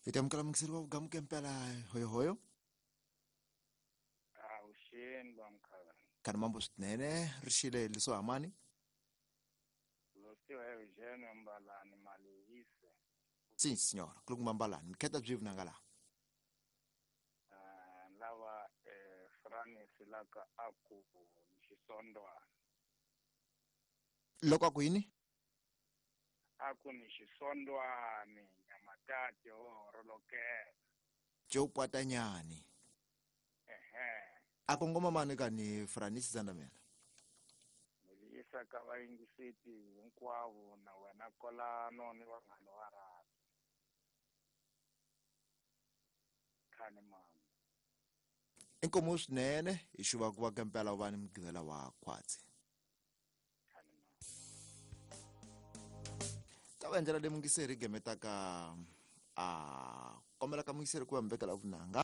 Hi ta amukela muyingiseri wa vugamuke mpela hoyohoyo. Avuxeni vamkhaya. Khani mambo swinene ri xile liso hamani. Losiwa Eugene Mbalani Malihise. Sim signora, kulukumba Mbalani. Mikheta byi vunanga laha. Lava Francis laka aku ni xisondwana. Loko aku yini? Aku ni xisondwani nyamatati ho horolokela. Joe Patanyani. Ehe. A kongoma mani ka ni Francis Zandamela. Ni yisa ka vayingiseti hinkwavo na wena kolano ni vanghana va rhabi. Khani mama. Inkomo swinene hi xuva ku va kempela u va ni mugqivela wa khwatsi. Khani mama. Ta va ndlela leyi muyingiseri gemetaka a kombela ka muyingiseri ku va mi vekela vunanga.